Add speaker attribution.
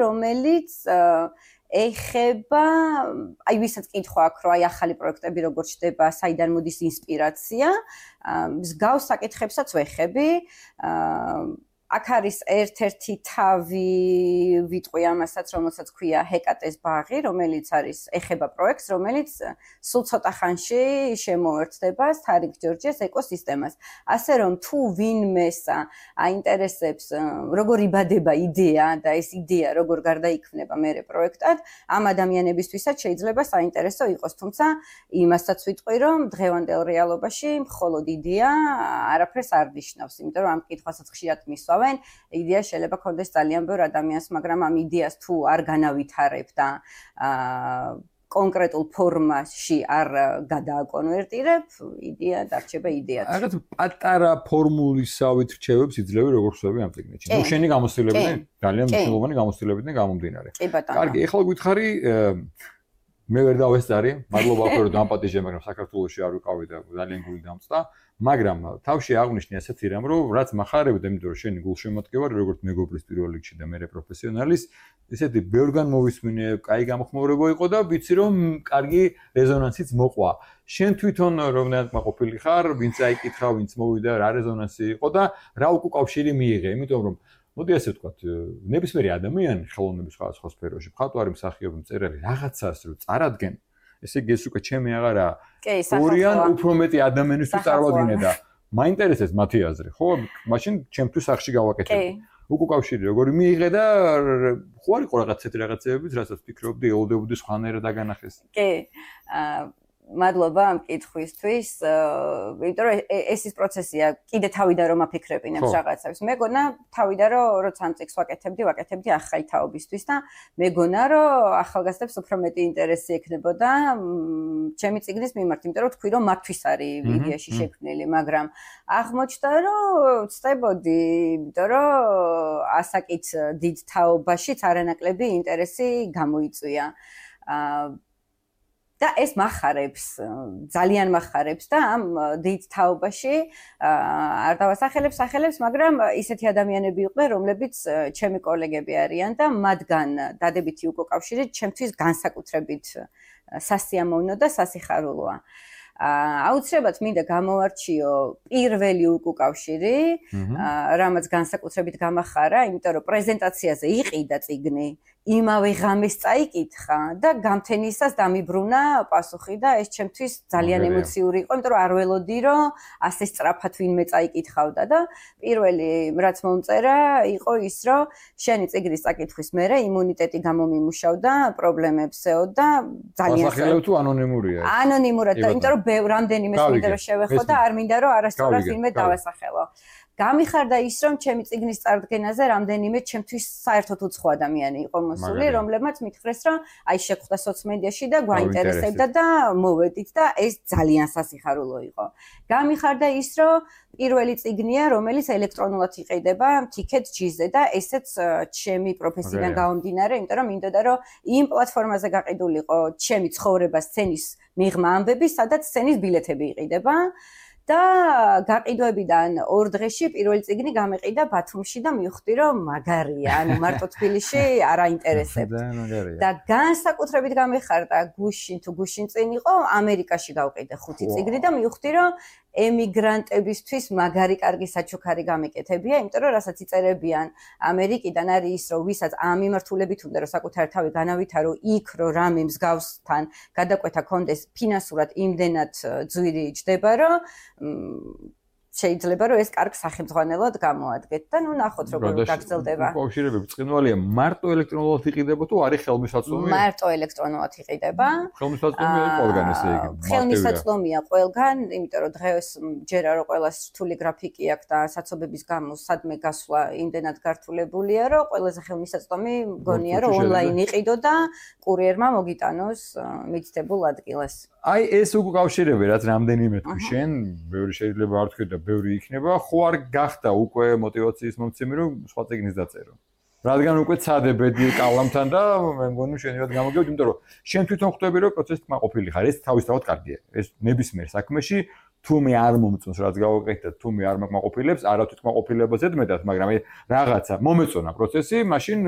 Speaker 1: რომელიც ეხება, აი ვისაც კითხვა აქვს, რომ აი ახალი პროექტები როგორ ჩდება, საიდან მოდის ინსპირაცია, მსგავს საკითხებსაც ვეხები. აქ არის ერთ-ერთი თავი ვიტყვი ამასაც, რომელსაც ქვია ჰეკატეს ბაღი, რომელიც არის ეხება პროექტს, რომელიც სულ ცოტა ხანში შემოერთდება სტარინგ ჯორჯიას ეკოსისტემას. ასე რომ თუ ვინმეს აინტერესებს როგორ იბადება იდეა და ეს იდეა როგორ გარდაიქმნება მერე პროექტად, ამ ადამიანებისთვისაც შეიძლება საინტერესო იყოს, თუმცა იმასაც ვიტყვი, რომ დღევანდელ რეალობაში მხოლოდ იდეა არაფერს არ ნიშნავს, იმიტომ რომ ამ კითხვასაც ხშირად მისვა იდეა შეიძლება ქონდეს ძალიან ბევრ ადამიანს, მაგრამ ამ იდეას თუ არ განავითარებ და კონკრეტულ ფორმაში არ გადააკონვერტირებ, იდეა დარჩება იდეად.
Speaker 2: რაღაც პატარა ფორმულისავით რჩევებს იძლევი როგორ ხსოვები ამ წიგნში. ნუ შენი გამოცდილებიდან ძალიან მნიშვნელოვანი გამოცდილებიდან გამომდინარე. კარგი, ეხლა გვითხარი მე ვერ დავესწარი, მადლობა უფრო რომ დამპატიჟე, მაგრამ საქართველოში არ ვიყავი და ძალიან გული დამწდა. მაგრამ თავში აღნიშნე ასეთი რამ, რომ რაც מחარებდა, იმიტომ რომ შენი გულშემატკივარი, როგორც მეგობრის პირველ რიგში და მერე პროფესიონალის, ესეთი ბევრგან მოვისმინე, კაი გამოხმაურება იყო და ვიცი რომ კარგი რეზონანსიც მოყვა. შენ თვითონ რომელად მაყოფილი ხარ, ვინც აიკითხა, ვინც მოვიდა, რა რეზონანსი იყო და რა უკავშირი მიიღე, იმიტომ რომ მოდი ასე ვთქვათ, ნებისმიერი ადამიანი ხელოვნების სხვადასხვა სფეროში, მხატვარი, მსახიობი, მწერალი რაღაცას რო წარადგენ, ესე იგი ეს უკვე ჩემი აღარა ორიან უფრო მეტი ადამიანისთვის წარვადგინე და მაინტერესებს მათი აზრი, ხო? მაშინ ჩემთვის სახში გავაკეთებ. უკავშირი როგორი მიიღე და ხო არ იყო რაღაც ესეთი რაღაცებიც, რასაც ფიქრობდი, ელოდებოდი სხვანაირად დაგანახეს.
Speaker 1: კი. მადლობა ამ კითხვისთვის, იმიტომ რომ ეს ის პროცესია, კიდე თავიდან რომ აფიქრებინებს რაღაცებს. მეგონა თავიდან რომ როცა ამ წიგნს ვაკეთებდი ახალი თაობისთვის და მეგონა რომ ახალგაზრდებს უფრო მეტი ინტერესი ექნებოდა ჩემი წიგნის მიმართ, იმიტომ რომ თქვი რომ მათთვის არის იდეაში შექმნილი, მაგრამ აღმოჩნდა რომ ვწდებოდი, იმიტომ რომ ასაკით დიდ თაობაშიც არანაკლები ინტერესი გამოიწვია. და ეს מחარებს, ძალიან מחარებს და ამ დიდ თაობაში არ დავასახელებს, მაგრამ ისეთი ადამიანები იყვნენ, რომლებიც ჩემი კოლეგები არიან და მათგან დადებითი უკავშირი ჩემთვის განსაკუთრებით სასიამოვნო და სასიხარულოა. აუცილებლად მინდა გამოვარჩიო პირველი უკავშირი, რამაც განსაკუთრებით გამახარა, იმიტომ რომ პრეზენტაციაზე იყიდა წიგნი, იმავე ღამეს წაიკითხა და გამთენისას დამიბრუნა პასუხი და ეს ჩემთვის ძალიან ემოციური იყო, იმიტომ რომ არ ველოდი რომ ასე სწრაფად ვინმე წაიკითხავდა და პირველი რაც მომწერა იყო ის, რომ შენი წიგნის წაკითხვის მერე იმუნიტეტი გამომიმუშავდა, პრობლემებს ეოდა ძალიან
Speaker 2: სასახელო თუ ანონიმურია?
Speaker 1: ანონიმურად, იმიტომ რომ რამდენიმე მინდა რომ შევეხო და არ მინდა რომ არასწორად ვინმე დავასახელო. გამიხარდა ის, რომ ჩემი წიგნის წარდგენაზე რამდენიმე ჩემთვის საერთოდ უცხო ადამიანი იყო მოსული, რომლებმაც მითხრეს, რომ აი შეგხვდა სოციმედიაში და გვაინტერესებდა და მოვედით და ეს ძალიან სასიხარულო იყო. გამიხარდა ის, რომ პირველი წიგნია, რომელიც ელექტრონულად იყიდება Ticket G-ზე და ესეც ჩემი პროფესიიდან გამომდინარე, იმიტომ რომ მინდოდა რომ იმ პლატფორმაზე გაყიდულიყო ჩემი ცხოვრება სცენის მიღმა ამბები, სადაც სცენის ბილეთები იყიდება. და გაყიდვებიდან 2 დღეში პირველი წიგნი გამეყიდა ბათუმში და მივხვდი რომ მაგარია, ანუ მარტო თბილისში არ აინტერესებთ. და განსაკუთრებით გამეხარდა გუშინ წინ იყო ამერიკაში გავყიდე 5 წიგნი და მივხვდი რომ ემიგრანტებისთვის მაგარი კარგი საჩუქარი გამეკეთებია, იმიტომ რომ რასაც იწერებიან ამერიკიდან არის ის, რომ ვისაც ამ მიმართულებით უნდა რომ საკუთარი თავი განავითარო იქ, რომ რამე მსგავსთან გადაკვეთა კონდეს ფინანსურად იმდენად ძვირი ჯდება, რომ შეიძლება რომ ეს კარგ სახელმძღვანელოდ გამოადგეთ და ნუ ნახოთ როგორ გაგრძელდება.
Speaker 2: უკავშირებები ბრწყინვალეა, მარტო ელექტრონულად იყიდება თუ არის ხელმისაწვდომი?
Speaker 1: მარტო ელექტრონულად იყიდება.
Speaker 2: ხელმისაწვდომია ყველგან ესე იგი.
Speaker 1: ხელმისაწვდომია ყველგან, იმიტომ რომ დღეს ჯერა რომ ყველას რთული გრაფიკი აქვს და საცობების გამო სადმე გასვლა იმდენად გართულებულია, რომ ყველაზე ხელმისაწვდომი მგონია რომ ონლაინ იყიდო და კურიერმა მოგიტანოს მიცდებულ ადგილას.
Speaker 2: აი ეს უკავშირები რაც რამდენიმე თქვი შენ, ბევრი შეიძლება არ თქვი და ბევრი იქნება, ხო არ გახდა უკვე мотиваციის მომცემი რომ სხვა წიგნის დაწერო. რადგან უკვე ცადებედი კალამთან და მე მგონი შენივად გამოგევთ, იმიტომ რომ შენ თვითონ ხვდები რომ პროცესით მაყოფილი ხარ, ეს თავისთავად კარგია. ეს ნებისმიერ საქმეში თუ მე არ მომწონს რაც გავაკეთე და თუ მე არ მაყოფილებს, არა თვითონ მაყოფილებას ედმედათ, მაგრამ რაღაცა მომეწონა პროცესი, მაშინ